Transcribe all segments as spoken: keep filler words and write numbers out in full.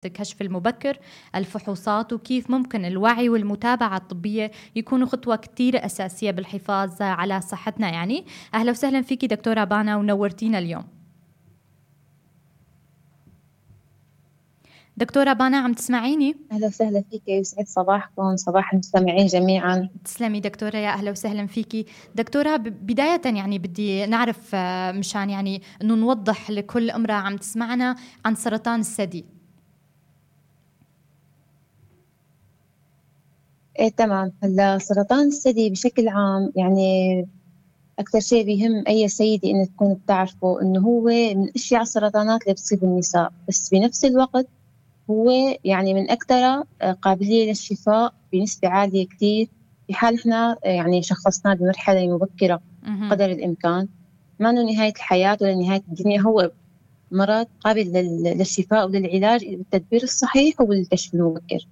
الكشف المبكر، الفحوصات، وكيف ممكن الوعي والمتابعة الطبية يكونوا خطوة كتير أساسية بالحفاظ على صحتنا. يعني أهلا وسهلا فيكي دكتورة بانا ونورتينا اليوم. دكتورة بانا عم تسمعيني؟ أهلا وسهلا فيكي، يسعد صباحكم، صباح المستمعين جميعا. تسلمي دكتورة، يا أهلا وسهلا فيكي دكتورة. بداية يعني بدي نعرف مشان يعني أنه نوضح لكل امرأة عم تسمعنا عن سرطان الثدي. إيه تمام. هلا سرطان الثدي بشكل عام يعني أكثر شيء بيهم أي سيدة إنه تكون بتعرفه إنه هو من أشياء السرطانات اللي بتصيب النساء، بس بنفس الوقت هو يعني من أكثر قابلية للشفاء بنسبة عالية كتير في حال إحنا يعني شخصناه بمرحلة مبكرة قدر الإمكان. ما إنه نهاية الحياة ولا نهاية الدنيا، هو مرض قابل للشفاء وللعلاج بالتدبير الصحيح وبالكشف المبكر.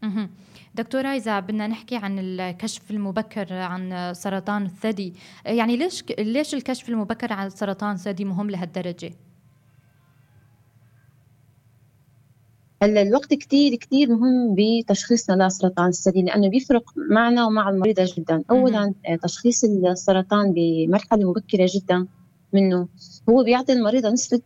مهم. دكتورة، إذا بدنا نحكي عن الكشف المبكر عن سرطان الثدي، يعني ليش ليش الكشف المبكر عن سرطان الثدي مهم لهالدرجة؟ هلا الوقت كتير كتير مهم بتشخيصنا لسرطان الثدي، لأنه بيفرق معنا ومع المريضة جدا. أولا تشخيص السرطان بمرحلة مبكرة جدا منه هو بيعطي المريضة نسبة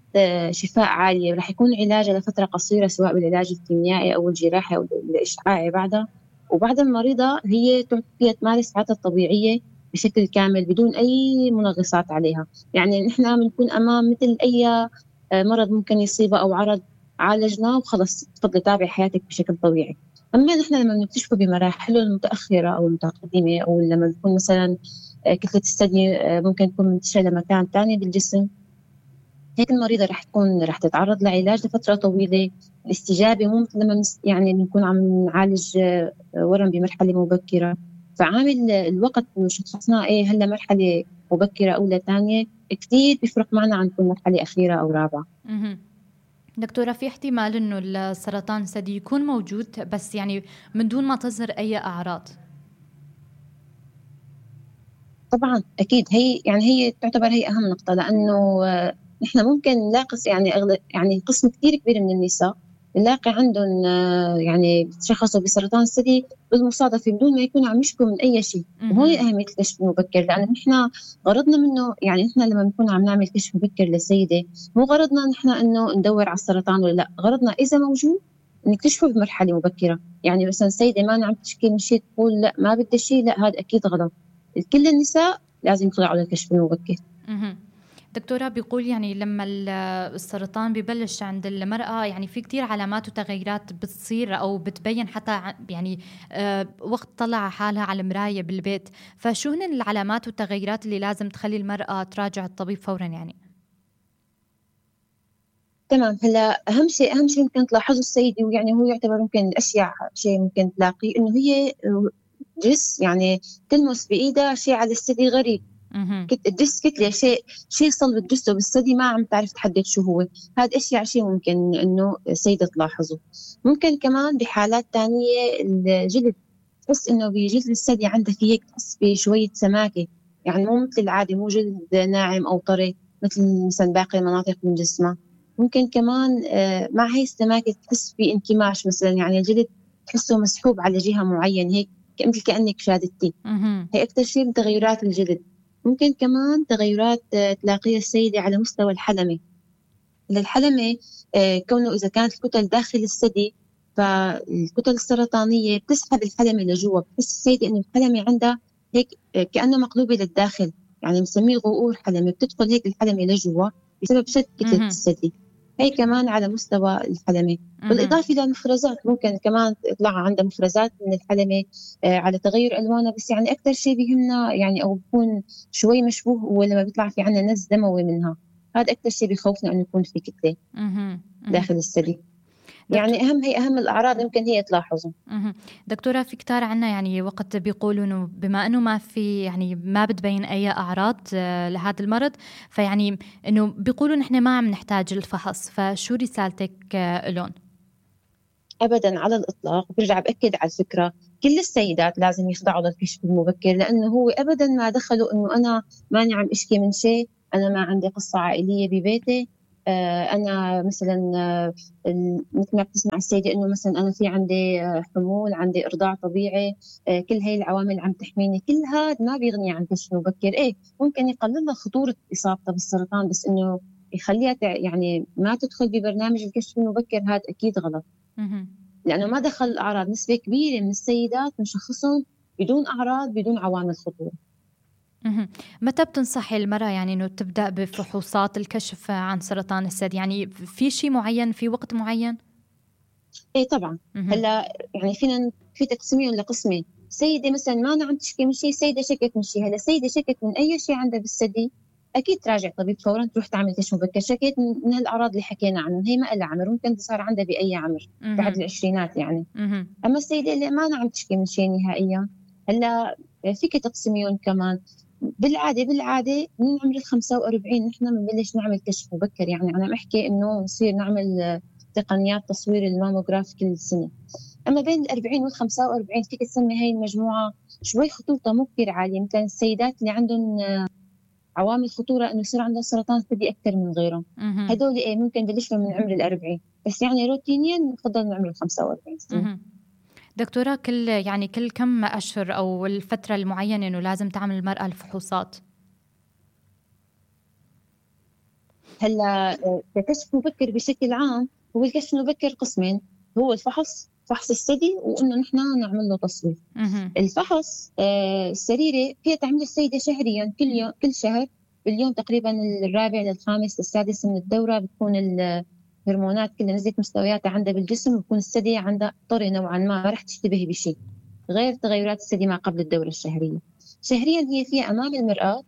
شفاء عالية، ورح يكون علاجها لفترة قصيرة سواء بالعلاج الكيميائي أو الجراحي أو الإشعاعي بعدها. وبعد المريضة هي فيها تمارس حياتها الطبيعية بشكل كامل بدون أي منغصات عليها. يعني نحن بنكون أمام مثل أي مرض ممكن يصيبه أو عرض عالجناه وخلص تفضلي تابعي حياتك بشكل طبيعي. أما نحن لما بنكتشفه بمراحله المتأخرة أو المتقدمة، أو لما بيكون مثلا كتلة الثدي ممكن تكون منتشرة لمكان تاني بالجسم، هيك المريضة رح تكون رح تتعرض لعلاج لفترة طويلة. الاستجابة مو مثل لما يعني بنكون عم نعالج ورم بمرحلة مبكرة. فعامل الوقت إنه شخصنا إيه هلا مرحلة مبكرة أو لا تانية كتير بيفرق معنا عن كل مرحلة أخيرة أو رابعة. دكتورة، في احتمال إنه السرطان الثدي يكون موجود بس يعني من دون ما تظهر أي أعراض؟ طبعا أكيد، هي يعني هي تعتبر هي أهم نقطة، لأنه نحن ممكن نلاقي يعني أغلب يعني قسم كتير كبير من النساء نلاقي عندهم يعني تشخصوا بسرطان الثدي بالمصادفة بدون ما يكونوا عم يشكوا من أي شيء. وهون أهمية الكشف المبكر، لأنه نحن غرضنا منه يعني نحن لما نكون عم نعمل كشف مبكر للسيدة مو غرضنا نحن إنه ندور على السرطان ولا لا، غرضنا إذا موجود نكتشفه بمرحلة مبكرة. يعني مثلا سيدة ما عم تشكي من شيء تقول لا ما بدي شيء، لا هذا أكيد غلط. كل النساء لازم يخضعوا للكشف المبكر. دكتورة، بيقول يعني لما السرطان ببلش عند المرأة يعني في كتير علامات وتغيرات بتصير أو بتبين حتى يعني أه وقت طلع حالها على المراية بالبيت، فشو هن العلامات والتغيرات اللي لازم تخلي المرأة تراجع الطبيب فورا؟ يعني تمام. هلا أهم شيء أهم شيء ممكن تلاحظه السيدة، ويعني هو يعتبر ممكن الأشياء شيء ممكن تلاقيه، إنه هي جس يعني تلمس بإيدها شيء على الثدي غريب. الجس كتلة شيء شيء صلب تجسه بالثدي ما عم تعرف تحدد شو هو. هذا أشياء شيء ممكن إنه السيدة تلاحظه. ممكن كمان بحالات تانية الجلد، تحس إنه بجلد الثدي عندها في هيك تحس بشوية سماكة، يعني مو مثل العادي مو جلد ناعم أو طري مثل مثلا باقي المناطق من جسمها. ممكن كمان مع هاي السماكة تحس بانكماش مثلا، يعني الجلد تحسه مسحوب على جهة معينة هيك مثل كأنك شادتي. هي أكثر شيء من تغيرات الجلد. ممكن كمان تغيرات تلاقيها السيدة على مستوى الحلمة. الحلمة كونه إذا كانت الكتل داخل الثدي فالكتل السرطانية بتسحب الحلمة لجوا، بتحس السيدة إنه الحلمة عندها هيك كأنه مقلوبة للداخل، يعني مسميه غؤور حلمة، بتدخل هيك الحلمة لجوا بسبب شد كتلة الثدي. هي كمان على مستوى الحلمة. بالإضافة للمفرزات ممكن كمان تطلع عندها مفرزات من الحلمة آه على تغير ألوانها، بس يعني أكثر شيء بيهمنا يعني أو بيكون شوي مشبوه هو لما بيطلع في عنا نز دموي منها. هذا أكثر شيء بيخوفنا أن يكون في كتلة داخل الثدي. يعني أهم هي أهم الأعراض يمكن هي تلاحظوا. دكتورة، في كتار عنا يعني وقت بيقولوا إنه بما إنه ما في يعني ما بتبين أي أعراض لهذا المرض، فيعني إنه بيقولوا نحن ما عم نحتاج الفحص، فشو رسالتك لهم؟ أبدا على الإطلاق. برجع بأكد على الفكرة، كل السيدات لازم يخضعوا للكشف المبكر، لأنه هو أبدا ما دخلوا إنه أنا ماني عم أشكي من شيء، أنا ما عندي قصة عائلية ببيتي، أنا مثلا مثل ما بتسمع السيدة إنه مثلا أنا في عندي حمول، عندي إرضاع طبيعي، كل هاي العوامل عم تحميني، كل هذا ما بيغني عن كشف مبكر. إيه ممكن يقلل خطورة إصابتها بالسرطان، بس إنه يخليها يعني ما تدخل ببرنامج الكشف المبكر، هذا أكيد غلط. لأنه ما دخل الأعراض. نسبة كبيرة من السيدات بنشخصهم بدون أعراض، بدون عوامل خطورة. متى بتنصحي المرأة يعني إنه تبدأ بفحوصات الكشف عن سرطان الثدي؟ يعني في شيء معين، في وقت معين؟ إيه طبعا. هلا يعني فينا في تقسيمين لقسمين. سيدة مثلا ما أنا عم تشكي من شيء، سيدة شكت من شيء. هلا سيدة شكت من أي شيء عندها بالثدي، أكيد تراجع طبيب فورا، تروح تعمل كشف مبكر. شكيت من هالأعراض اللي حكينا عنهم، هي ما لها عمر، ممكن صار عندها بأي عمر بعد العشرينات يعني. أما السيدة اللي ما أنا عم تشكي من شيء نهائيا، هلا فيك تقسميون كمان. بالعادة بالعادة من عمر الخمسة وأربعين نحن بنبلش نعمل كشف مبكر. يعني أنا بحكي إنه نصير نعمل تقنيات تصوير الماموغراف كل سنة. أما بين الأربعين والخمسة وأربعين فيك تسمي هاي المجموعة شوي خطورتها مو كتير عالية. مثلا السيدات اللي عندهم عوامل خطورة إنه يصير عندهم سرطان ثدي أكثر من غيرهم، هدول إيه ممكن بلشوا من عمر الأربعين، بس يعني روتينيا نفضل من عمر الخمسة وأربعين سنة. دكتورة كل يعني كل كم أشهر أو الفترة المعينة إنه لازم تعمل المرأة الفحوصات؟ هلا الكشف المبكر بشكل عام هو الكشف المبكر قسمين، هو الفحص فحص الثدي، وإنه نحن نعمل له تصوير. الفحص آه السريري فيها تعمل السيدة شهريا، كل يوم كل شهر باليوم تقريبا الرابع للخامس للسادس من الدورة، بتكون الهرمونات كلها نزلت مستوياتها عندها بالجسم، وبكون الثدي عندها طري نوعا ما، ما رح تشتبه بشيء غير تغيرات الثدي ما قبل الدورة الشهرية. شهريا هي فيها أمام المرآة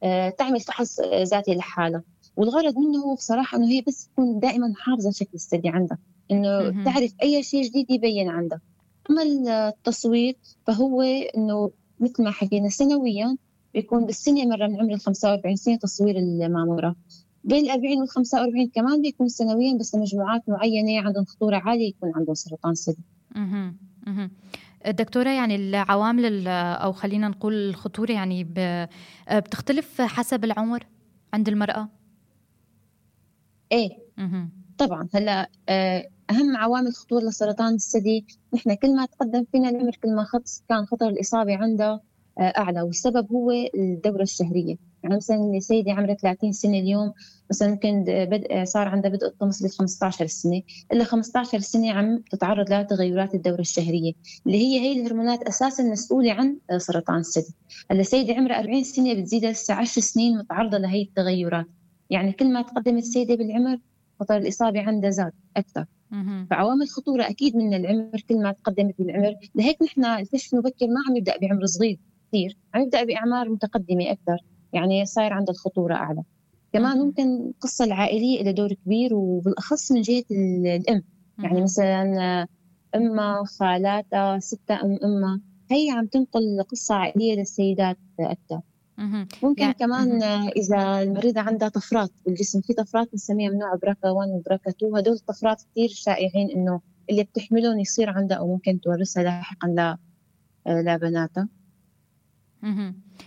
آه تعمل فحص ذاتي لحالها، والغرض منه هو بصراحة إنه هي بس تكون دائما حافظة شكل الثدي عندها، إنه تعرف أي شيء جديد يبين عندها. أما التصوير فهو إنه مثل ما حكينا سنويا بيكون بالسنة مرة من عمر الخمسة وأربعين سنة تصوير المامورة. بين الأربعين والخمسة وأربعين كمان بيكون سنويا، بس لمجموعات معينة عندهم خطورة عالية يكون عندهم سرطان ثدي. دكتورة يعني العوامل أو خلينا نقول الخطورة يعني بتختلف حسب العمر عند المرأة؟ إيه مه. طبعا. هلا أهم عوامل خطورة لسرطان الثدي، نحن كل ما تقدم فينا العمر كل ما خط كان خطر الإصابة عندها أعلى، والسبب هو الدورة الشهرية. يعني مثلا سيدة عمرها ثلاثين سنة اليوم مثلا ممكن بدء صار عندها بدء الطمس ل خمسة عشر سنة، إلا خمسة عشر سنة عم تتعرض لها تغيرات الدورة الشهرية اللي هي هي الهرمونات أساسا مسؤولة عن سرطان الثدي. هلا سيدة عمرها أربعين سنة بتزيد لسه عشر سنين متعرضة لهي التغيرات. يعني كل ما تقدمت السيدة بالعمر خطر الإصابة عندها زاد أكثر. فعوامل خطورة أكيد من العمر كل ما تقدمت بالعمر. لهيك نحن الكشف المبكر ما عم يبدأ بعمر صغير كثير، عم يبدأ بأعمار متقدمة أكثر، يعني صاير عند الخطورة أعلى. كمان ممكن القصة العائلية إلى دور كبير، وبالأخص من جهة الأم. يعني مثلا أمها، خالاتها، ستة أم أمها، هي عم تنقل قصة عائلية للسيدات أكثر. ممكن يعني كمان مه. إذا المريضة عندها طفرات بالجسم، في طفرات بنسميها من نوع بركة واحد وبركة اثنين، هدول الطفرات كتير شائعين إنه اللي بتحملهم يصير عندها أو ممكن تورثها لاحقا ل لبناتها.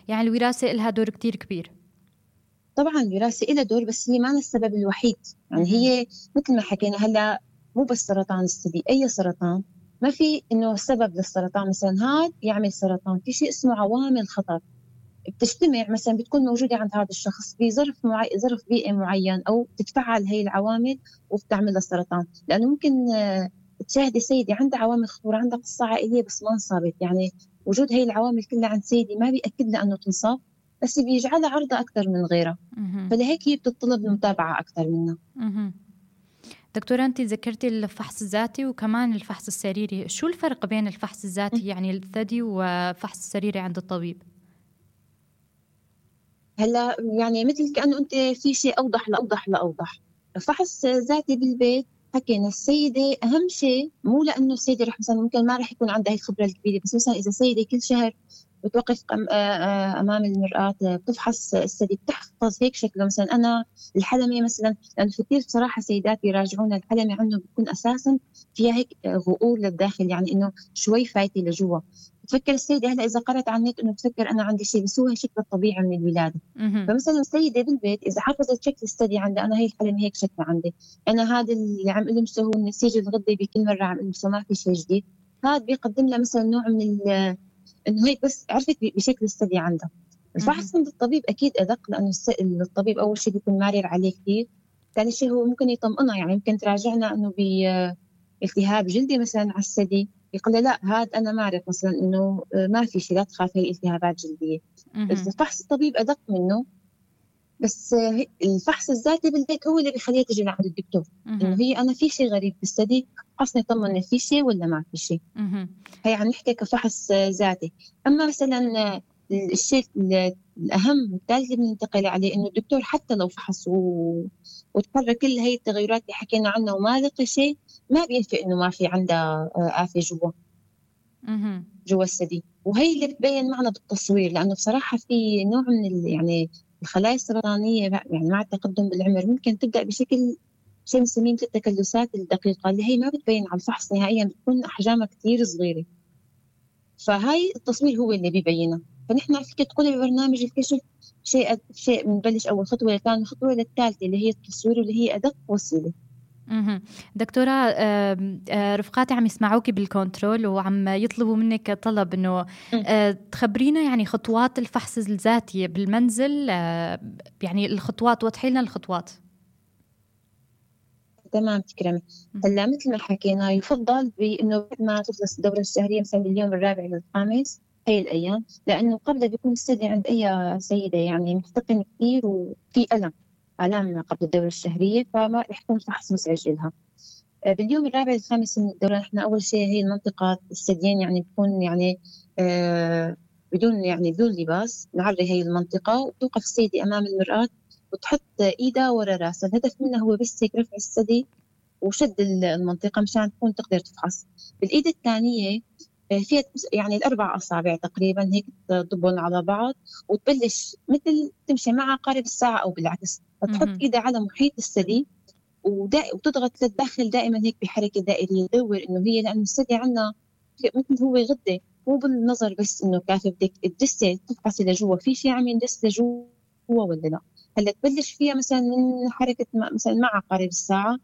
يعني الوراثة لها دور كتير كبير. طبعا الوراثة لها دور، بس هي ما السبب الوحيد. يعني مه. هي مثل ما حكينا هلا مو بس سرطان الثدي، أي سرطان ما في إنه سبب للسرطان مثلا هذا يعمل سرطان، في شيء اسمه عوامل خطر بتجتمع مثلا بتكون موجودة عند هذا الشخص بظرف معين، ظرف بيئي معين، أو تتفعل هي العوامل وبتعمل له سرطان. لأنه ممكن تشاهدي سيدي عندها عوامل خطورة، عندها قصة عائلية بس ما انصابت، يعني وجود هي العوامل كلها عند سيدي ما بيأكد لها أنه تنصاب، بس بيجعلها عرضة أكثر من غيرها. فلهيك هي بتطلب المتابعة أكثر منها. دكتورة أنت ذكرتي الفحص الذاتي وكمان الفحص السريري، شو الفرق بين الفحص الذاتي يعني الثدي وفحص السريري عند الطبيب؟ هلا يعني مثل كأنه أنت في شيء أوضح لأوضح لأوضح. فحص ذاتي بالبيت حكينا السيدة أهم شيء، مو لأنه السيدة رح مثلا ممكن ما رح يكون عندها هي الخبرة الكبيرة، بس مثلا إذا سيدة كل شهر بتوقف أمام المرآة بتفحص الثدي، بتحفظ هيك شكله. مثلا أنا الحلمة مثلا، لأنه في كثير بصراحة سيدات يراجعون الحلمة عنه بتكون أساسا فيها هيك غؤور للداخل، يعني إنه شوي فايتة لجوا، تفكر السيدة هلا إذا قرأت عن النت إنه تفكر أنا عندي شيء، بس هو شكل الطبيعي من الولادة. فمثلا السيدة بالبيت إذا حفظت شكل الثدي عندها، أنا هي الحلم هيك شكل عندي، أنا هذا اللي عم ألمسه هو النسيج الغدي بكل مرة عم ألمسه، ما في شيء جديد. هذا بيقدم لها مثلا نوع من إنه هيك بس عرفت بشكل الثدي عندها. الفحص عند الطبيب أكيد أدق، لأنه الطبيب أول شيء بيكون مارر عليه كثير، ثاني شيء هو ممكن يطمئنها، يعني ممكن تراجعنا إنه بالتهاب جلدي مثلا على الثدي، يقول له لا هذا أنا ما أعرف مثلا إنه ما في شيء، لا تخاف هي التهابات جلدية. الفحص الطبيب أدق منه، بس الفحص الذاتي بالبيت هو اللي بيخليها تجي لعند الدكتور إنه هي أنا في شيء غريب بالثدي، فحصني طمني في شيء ولا ما في شيء. هي عم نحكي كفحص ذاتي. أما مثلا الشيء الأهم والثالث اللي بننتقل عليه إنه الدكتور حتى لو فحص و... وتقرر كل هاي التغيرات اللي حكينا عنها وما لقى شيء، ما بينفع إنه ما في عندها آفة جوا جوا الثدي. وهي اللي بتبين معنا بالتصوير، لأنه بصراحة في نوع من ال... يعني الخلايا السرطانية يعني مع التقدم بالعمر ممكن تبدأ بشكل شيء مسمين التكلسات الدقيقة اللي هي ما بتبين على الفحص نهائيا، بتكون أحجامها كتير صغيرة، فهاي التصوير هو اللي بيبينها. فنحن فيك تقولي ببرنامج الكشف شيء شيء بنبلش أول خطوة، ثاني خطوة للثالثة اللي هي التصوير واللي هي أدق وسيلة. اها دكتورة، رفقاتي عم يسمعوكي بالكنترول وعم يطلبوا منك طلب إنه تخبرينا يعني خطوات الفحص الذاتي بالمنزل، يعني الخطوات، وضحي لنا الخطوات. تمام تكرمي. هلا مثل ما حكينا يفضل بإنه بعد ما تخلص الدورة الشهرية مثلا اليوم الرابع للخامس هي الأيام، لأنه قبل بيكون الثدي عند أي سيدة يعني محتقن كثير وفي ألم آلام قبل الدورة الشهرية، فما رح يكون فحص مزعج لها. باليوم الرابع للخامس من الدورة نحن أول شيء هي المنطقة الثديين يعني بتكون يعني آه بدون يعني بدون لباس، نعري هي المنطقة وتوقف السيدة أمام المرآة وتحط إيدها ورا راسها. الهدف منها هو بس هيك رفع الثدي وشد المنطقة مشان تكون تقدر تفحص. بالإيد الثانية فيها يعني الأربع أصابع تقريبا هيك تضبن على بعض وتبلش مثل تمشي مع عقارب الساعة أو بالعكس، تحط إيدها على محيط الثدي وتضغط للداخل دائما هيك بحركة دائرية، تدور إنه هي لأن الثدي عنا مثل هو غدة، مو بالنظر بس إنه كافي، بدك تدسي تفحصي لجوا في شيء عم يندس لجوا ولا لا. هلا تبلش فيها مثلا من حركة مثلا مع عقارب الساعة،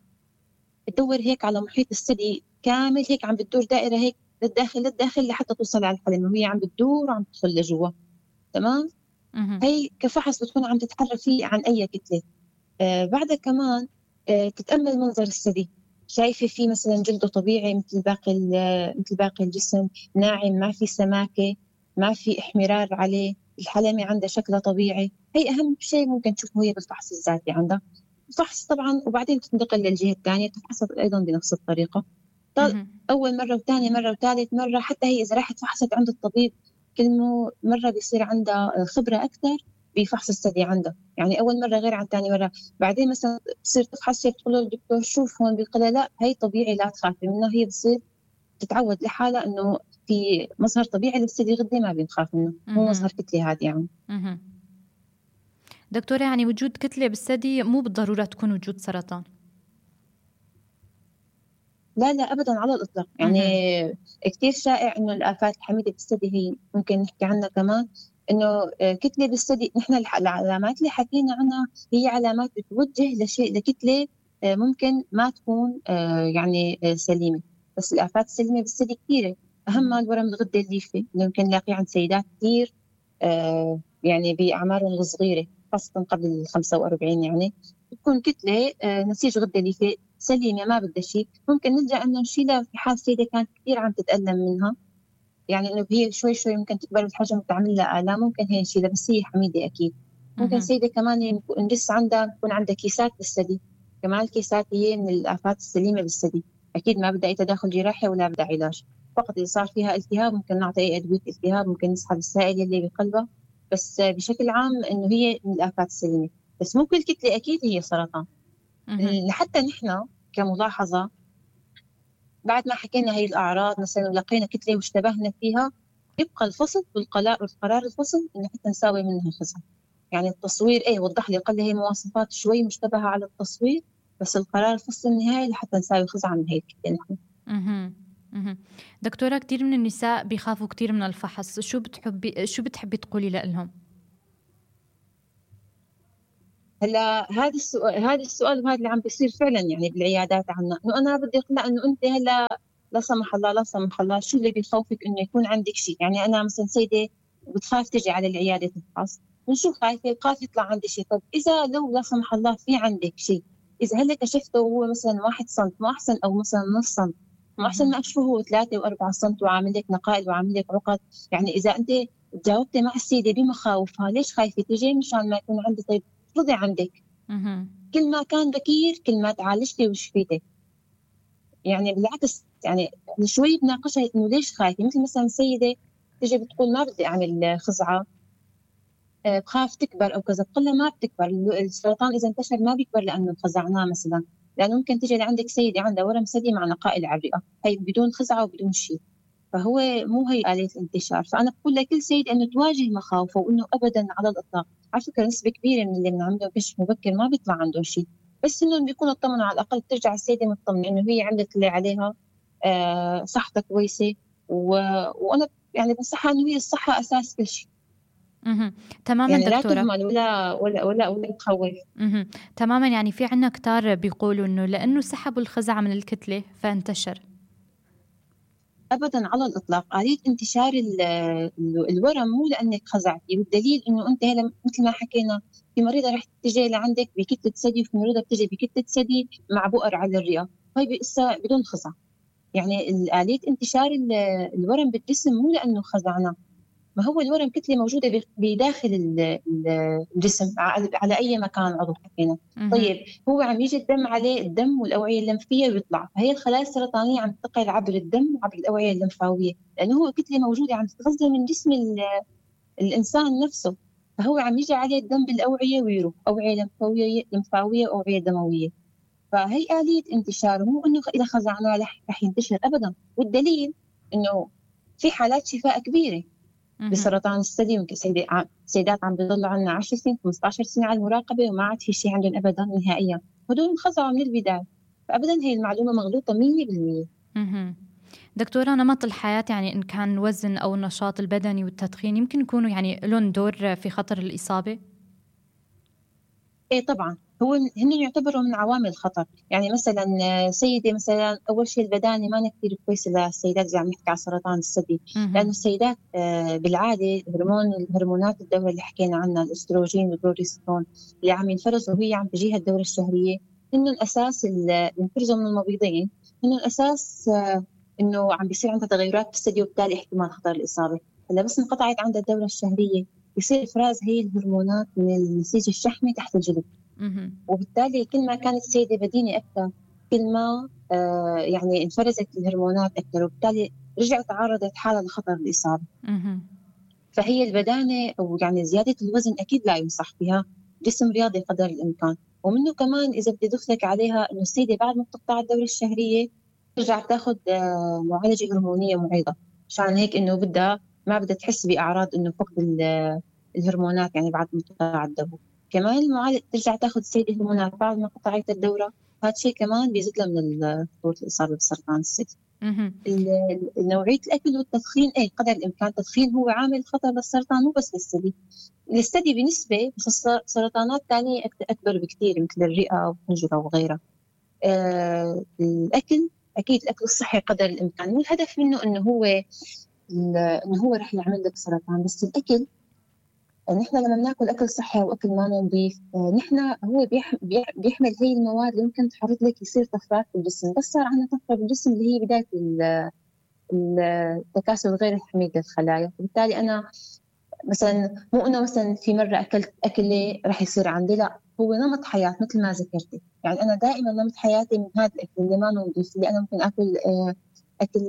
تدور هيك على محيط الثدي كامل هيك عم بتدور دائرة هيك للداخل للداخل لحتى توصل على الحلم وهي عم بتدور وعم تدخل لجوا. تمام. هي كفحص بتكون عم تتحرك فيه عن أي كتلة. آه بعدها كمان آه تتأمل منظر الثدي، شايفة فيه مثلا جلده طبيعي مثل باقي مثل باقي الجسم، ناعم، ما في سماكة، ما في احمرار عليه، الحلمة عندها شكلها طبيعي. هي أهم شيء ممكن تشوفه هي بالفحص الذاتي عندها. فحص طبعا وبعدين تنتقل للجهة الثانية تفحص أيضا بنفس الطريقة، أول مرة وثانية مرة وثالث مرة. حتى هي إذا راحت فحصت عند الطبيب كل مرة بيصير عندها خبرة أكثر بفحص الثدي عندها، يعني أول مرة غير عن ثاني مرة. بعدين مثلا بصير تفحص شيء بتقول للدكتور شوف هون، بيقول لا هي طبيعي لا تخافي منها، هي بصير تتعود لحالها إنه في مظهر طبيعي للثدي غدي ما بنخاف منه، مو مظهر كتلة هذا يعني. دكتورة، يعني وجود كتلة بالثدي مو بالضرورة تكون وجود سرطان؟ لا لا أبدا على الإطلاق، يعني كتير شائع إنه الآفات الحميدة بالثدي هي ممكن نحكي عنها كمان إنه كتلة بالثدي. نحن العلامات اللي حكينا عنها هي علامات بتوجه لشيء لكتلة ممكن ما تكون يعني سليمة، بس الآفات السليمة بالثدي كثيرة، أهمها الورم الغدة الليفي اللي ممكن نلاقيه عند سيدات كثير يعني بأعمارهم الصغيرة خاصة قبل الخمسة وأربعين، يعني تكون كتلة نسيج غدة ليفي سليمة ما بدها شيء، ممكن نلجأ إنه نشيلها في حال سيدة كانت كثير عم تتألم منها، يعني إنه هي شوي شوي ممكن تكبر بالحجم وتعمل لها آلام، ممكن هي نشيلها بس هي حميدة أكيد. ممكن سيدة كمان ندس عندها يكون عندها كيسات بالثدي، كمان الكيسات هي من الآفات السليمة بالثدي، أكيد ما بدها أي تداخل جراحي ولا بدها علاج، فقط إذا صار فيها التهاب ممكن نعطي أي أدوية التهاب، ممكن نسحب السائل اللي بقلبها، بس بشكل عام إنه هي من الآفات السليمة. بس مو كل كتلة أكيد هي سرطان. حتى نحن كملاحظة بعد ما حكينا هاي الأعراض مثلا ولقينا كتلة واشتبهنا فيها، يبقى الفصل والقرار القرار الفصل إنه حتى نساوي منها خزن. يعني التصوير إيه وضح لي قال لي هي مواصفات شوي مشتبهة على التصوير، بس القرار الفصل النهائي لحتى نساوي خزن عن هيك كتلة نحن. دكتورة، كتير من النساء بيخافوا كتير من الفحص، شو بتحبي شو بتحبي تقولي لهم؟ هلا هذا السؤال هذا السؤال وهذا اللي عم بيصير فعلا يعني بالعيادات عنا، انه انا بدي اقنع انه انت هلا لا سمح الله لا سمح الله شو اللي بيخوفك انه يكون عندك شيء. يعني انا مثلا سيده بتخاف تجي على العياده تفحص، من شو خايفه؟ خايفه يطلع عندي شيء. طب اذا لو لا سمح الله في عندك شيء، اذا هلا كشفته وهو مثلا واحد سم، ما احسن او مثلا نص سم، ما احسن ما اكشفه هو ثلاثة وأربعة سم وعامل لك نقائل وعامل لك عقد. يعني اذا انت جاوبتي مع السيده بمخاوفها، ليش خايفه تجي؟ مشان ما يكون عندي. طيب رضي عندك، كل ما كان بكير كل ما تعالجتي وشفيتي. يعني بالعكس، يعني شوي بناقشها انه ليش خايفه. مثل مثلا سيده تجي بتقول ما بدي اعمل خزعه، بخاف تكبر او كذا، بقول لها ما بتكبر. السرطان اذا انتشر ما بيكبر لانه خزعناه مثلا، لانه ممكن تجي لعندك سيده عندها ورم ثدي مع نقائل على الرئه، هي بدون خزعه وبدون شيء، فهو مو هي آلية الانتشار. فانا بقول لكل سيده انه تواجه مخاوفه، وانه ابدا على الاطلاق. على فكره نسبه كبيره من اللي بنعمله كشف مبكر ما بيطلع عندهم شيء، بس انهم بيكونوا اطمنوا، على الاقل ترجع السيده مطمنه انه هي عملت اللي عليها، آه صحتها كويسه. و... وانا يعني بنصحها انه هي الصحه اساس كل شيء. اها تماما يعني دكتورة. لا تهمل ولا ولا ولا ولا تخوف. اها تماما. يعني في عنا كتار بيقولوا انه لانه سحبوا الخزعة من الكتلة فانتشر. ابدا على الاطلاق. آلية انتشار الورم مو لانك خزعتي، والدليل انه انت هلا مثل ما حكينا في مريضه رح تجي لعندك بكتله ثدي، وفي مريضه بتجي بكتله ثدي مع بؤر على الرئه، هاي لسه بدون خزع. يعني آلية انتشار الورم بالجسم مو لانه خزعناه، ما هو الورم كتله موجوده بداخل الجسم على اي مكان عضو حكينا. طيب هو عم يجي الدم عليه، الدم والاوعيه الليمفيه ويطلع، فهي الخلايا السرطانيه عم تنتقل عبر الدم وعبر الاوعيه الليمفاويه، لانه هو كتله موجوده عم تتغذى من جسم الانسان نفسه، فهو عم يجي عليه الدم بالاوعيه ويروح، اوعيه ليمفاويه ليمفاويه واوعيه دمويه. فهي آلية انتشار، مو انه اذا خزعناه رح ينتشر ابدا. والدليل انه في حالات شفاء كبيره بسرطان الثدي. يمكن سيدات عم سيدات عم بيضلوا عنا عشر سنين خمسة عشر سنة على المراقبة وما عاد في شيء عندهم أبدا نهائيا، هدول انخزعوا من البداية. فأبدا هي المعلومة مغلوطة مية بالمية. دكتورة، نمط الحياة يعني إن كان وزن أو النشاط البدني والتدخين يمكن يكونوا يعني لهم دور في خطر الإصابة؟ إيه طبعا، هو هن يعتبروا من عوامل الخطر. يعني مثلا سيدة مثلا أول شيء البدانة ما كثير كويسة للسيدات إذا عم نحكي على سرطان الثدي، لأنه السيدات بالعادة هرمون الهرمونات الدورة اللي حكينا عنها الأستروجين والبروجسترون اللي عم ينفرزوا وهي عم تجيها الدورة الشهرية، إنه الأساس اللي بينفرزوا من المبيضين، إنه الأساس إنه عم بيصير عندها تغيرات بالثدي وبالتالي احتمال خطر الإصابة. هلا بس انقطعت عندها الدورة الشهرية يصير إفراز هي الهرمونات من النسيج الشحمي تحت الجلد، وبالتالي كل ما كانت السيدة بدينة أكثر كل ما آه يعني انفرزت الهرمونات أكثر، وبالتالي رجعت تعرضت حالة لخطر الإصابة. فهي البدانة أو يعني زيادة الوزن أكيد لا ينصح بها، جسم رياضي قدر الإمكان. ومنه كمان إذا بدي أدخلك عليها إنه السيدة بعد ما بتقطع الدورة الشهرية ترجع تاخذ آه معالجة هرمونية معيضة، عشان هيك إنه بدها ما بدها تحس بأعراض إنه فقد الهرمونات يعني بعد ما تقطع الدورة. كمان المعالجة ترجع تاخذ السيدة هرمونات بعد ما قطعت الدورة، هذا الشيء كمان بيزيد لها من خطورة الإصابة بسرطان الثدي. نوعية الأكل والتدخين، أي قدر الإمكان التدخين هو عامل خطر للسرطان، مو بس للثدي. للثدي بنسبة، بس سرطانات ثانية أكبر بكثير مثل الرئة والحنجرة وغيرها. آه الأكل أكيد الأكل الصحي قدر الإمكان، والهدف منه إنه هو إنه هو رح يعمل لك سرطان. بس الأكل نحن لما بناكل أكل صحي وأكل ما نظيف، نحن هو بيح بيحمل هي المواد اللي ممكن تحرض لك يصير طفرات في الجسم. بس صار عندنا طفرة بالجسم اللي هي بداية التكاثر غير الحميد للخلايا، وبالتالي أنا مثلا مو أنه مثلا في مرة أكلت أكلة رح يصير عندي، لا، هو نمط حياة مثل ما ذكرتي. يعني أنا دائما نمط حياتي من هذا الأكل اللي ما نظيف، اللي أنا ممكن أكل أكل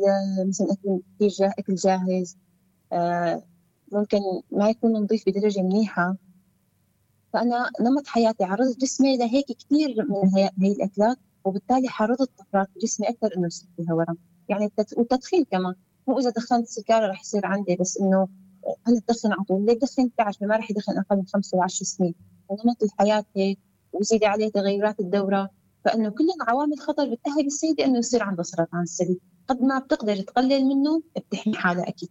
مثلا أكل كثير أكل جاهز، ممكن ما يكون نظيف بدرجة منيحة. فأنا نمط حياتي عرضت جسمي لهيك كثير من هي, هي الأكلات، وبالتالي حرضت طفرات جسمي أكثر إنه يصير فيها ورم. يعني والتدخين كمان، مو إذا دخنت سيجارة رح يصير عندي، بس إنه أنا بدخن على طول. ليه بدخن؟ بتعرف ما رح يدخن أقل من خمسة وعشر سنين. نمط الحياة هيك، وزيد عليه تغيرات الدورة، فإنه كلهم عوامل خطر بتأهل السيدة إنه يصير عنده سرطان الثدي. قد ما بتقدر تقلل منه بتحمي حالها أكيد.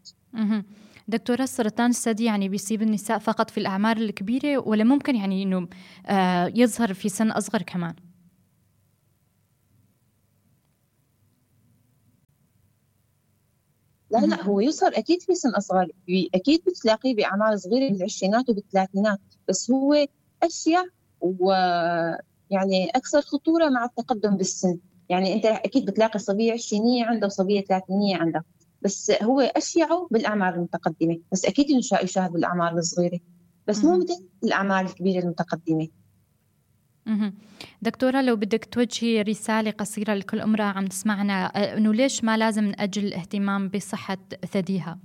دكتورة، سرطان الثدي يعني بيصيب النساء فقط في الأعمار الكبيرة ولا ممكن يعني إنه آه يظهر في سن أصغر كمان؟ لا لا هو يظهر أكيد في سن أصغر، أكيد بتلاقيه بأعمار صغيرة بالعشرينات وبالثلاثينات، بس هو أشيع ويعني أكثر خطورة مع التقدم بالسن. يعني أنت أكيد بتلاقي صبية عشرينية عندها وصبية ثلاثينية عندها، بس هو أشيعه بالأعمار المتقدمة، بس أكيد إنه يشاهد بالأعمار الصغيرة، بس مو مثل الأعمار الكبيرة المتقدمة. دكتورة، لو بدك توجهي رسالة قصيرة لكل امرأة عم تسمعنا إنه ليش ما لازم نأجل الاهتمام بصحة ثديها؟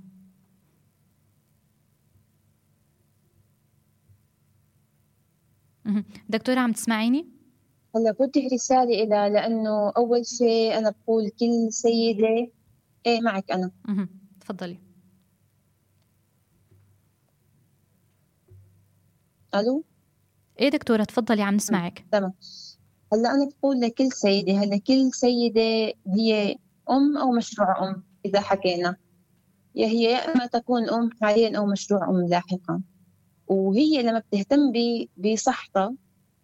دكتورة عم تسمعيني؟ هلا بوجه رسالة إلى، لأنه أول شيء أنا بقول كل سيدة. إيه معك أنا. تفضلي. ألو. إيه دكتورة تفضلي عم نسمعك. تمام. هلا أنا بقول لكل سيدة، هلا كل سيدة هي أم أو مشروع أم. إذا حكينا يا هي يا إما تكون أم حاليا أو مشروع أم لاحقا، وهي لما بتهتم بصحتها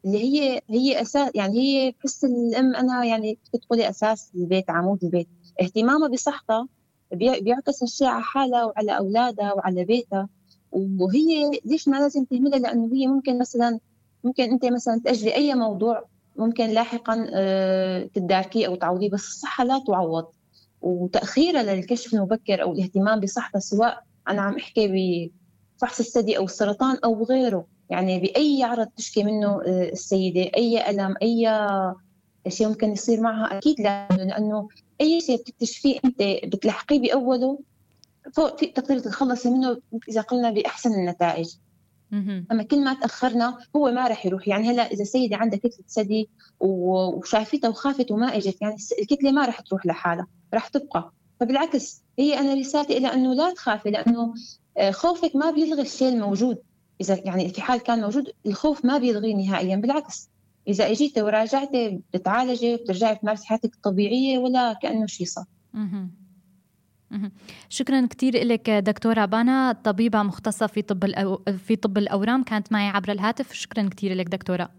اللي هي هي أساس، يعني هي بحس الأم أنا يعني بتقولي أساس البيت، عمود البيت. اهتمامها بصحتها بيعكس الشيء على حالها وعلى أولادها وعلى بيتها. وهي ليش ما لازم تهملها؟ لأنه هي ممكن مثلا ممكن أنت مثلا تأجلي أي موضوع ممكن لاحقا تداركيه أو تعوضيه، بس الصحة لا تعوض. وتأخيرها للكشف المبكر أو الاهتمام بصحتها، سواء أنا عم أحكي بفحص الثدي أو السرطان أو غيره، يعني بأي عرض تشكي منه السيدة، أي ألم أي شيء ممكن يصير معها، أكيد لازم، لأنه أي شيء بتكتشفيه أنت بتلحقيه بأوله فوق في تقدر تتخلصي منه إذا قلنا بأحسن النتائج. أما كل ما تأخرنا هو ما رح يروح. يعني هلا إذا سيدة عندها كتلة ثدي وشايفتها وخافت وما إجت، يعني الكتلة ما رح تروح لحالها، رح تبقى. فبالعكس هي أنا رسالتي إلى أنه لا تخافي، لأنه خوفك ما بيلغي الشيء الموجود. إذا يعني في حال كان موجود الخوف ما بيلغيه نهائيا، بالعكس إذا اجيتي وراجعتي بتتعالجي وبترجعي تمارسي حياتك الطبيعية ولا كأنه شيء صار. شكرا كتير لك دكتورة بانا، طبيبة مختصة في طب في طب الأورام، كانت معي عبر الهاتف. شكرا كتير لك دكتورة.